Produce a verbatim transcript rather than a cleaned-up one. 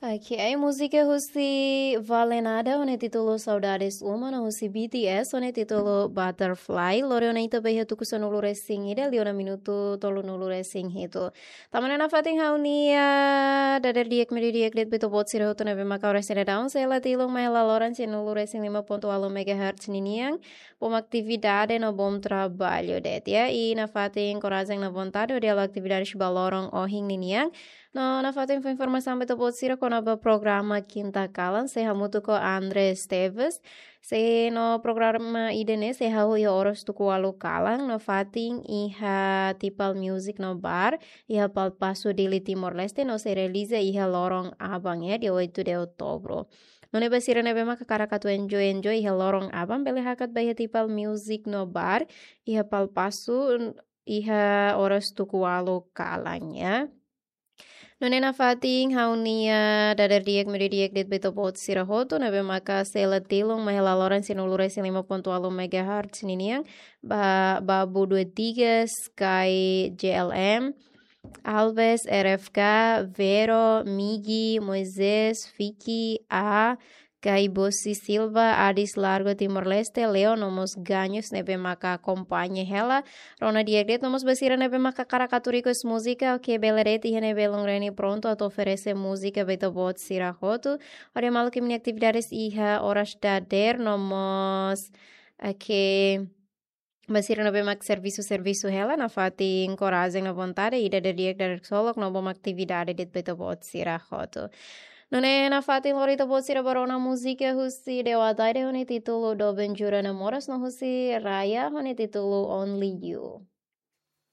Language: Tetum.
Ok, múzika husi Vale Nada ho nia títulu Saudades Uma no husi B T S ho nia títulu Butterfly. Lori ona ita ba iha tuku sanulu resin ida, liu ona minutu tolunulu resin hitu. Tanba ne'e nafatin ha'u-nia dadeer di'ak media di'ak de'it ba ita-boot sira hotu ne'ebé maka oras ida daun sei la tilun mai hela loron sanulu resin lima pontu ualu megahertz ninian. Bom atividade no bom trabalho de'it, ya. I nafatin korajen no vontade hodi halo atividade ba loron ohin ninian. No nafatin fó informasaun ba ita-boot sira kona-ba programa Kinta Kalan, sei hamutuk ho André Esteves. Sei no programa ida-ne'e sei hahú iha oras tuku ualu kalan, nafatin iha Tipal Music no Bar, iha Palpasu, Dili, Timor-Leste, no sei realiza iha loron aban, ya, dia oito de outubro. Nune'e ba sira ne'ebé maka hakarak atu enjoy, enjoy iha loron aban, bele hakat ba iha Tipal Music no Bar, iha Palpasu, iha oras tuku ualu kalan, ya. Nune'e nafatin ha'u-nia dadeer di'ak media di'ak de'it ba ita-boot sira hotu ne'ebé maka sei la tilun mai hela loron sanulu resin lima pontu ualu megahertz ninian, ba Babu dua tiga, Sky J L M, Alves, R F K, Vero, Migi, Moisés, Fiki, A, Kai Bosi Silva, Adis Largo, Timor-Leste, Leo, no mós Ganhos ne'ebé maka akompaña hela. Rona di'ak de'it, no mós ba sira ne'ebé maka hakarak atu request múzika, ok, bele de'it, iha ne'e belun Reni prontu atu oferese múzika ba ita-boot sira hotu. Hodi maluk imi-nia atividades iha oras dadeer, no mós, ok, ba sira ne'ebé mak servisu, servisu hela, nafatin korajen no vontade, ida dadeer di'ak, dadeer ksolok, no bom atividade de'it ba ita-boot sira hotu. Nune'e nafatin lori ita-boot sira ba rona múzika husi Dewa Ataide ho nia títulu Doben Jura Namoras no husi Raya ho nia títulu Only You.